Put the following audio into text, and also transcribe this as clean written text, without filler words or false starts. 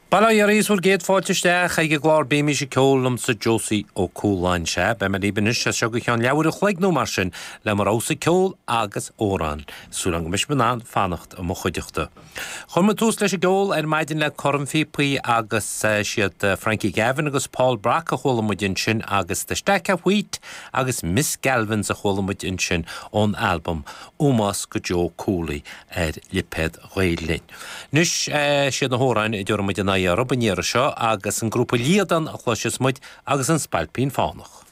Bail ó Dhia oraibh is bhur gcéad fáilte isteach ag an gclár Bímís ag Ceol liomsa Josie Ó Cualáin. Sea, beidh mé libh anois as seo go ceann leathuair a chloig nó mar sin le mo rogha-sa ceol agus amhrán. Súil agam go mbeidh sibh in ann fanacht i mo chuideachta. Chuir muid tús leis an gceol ar maidin le Cornphíopaí agus siad Frankie Gavin agus Paul Brock a chuala muid ansin agus The Stack of Wheat agus Miss Galvins a chuala muid ansin ón albam Ómós go Joe Cooley ar lipéad Ghael Linn. Anois, siad na hamhráin a dtabharfaidh muid aghaidh orthu an iarraidh seo agus an grúpa Líadan a chloisfeas muid agus an Spailpín Fánach.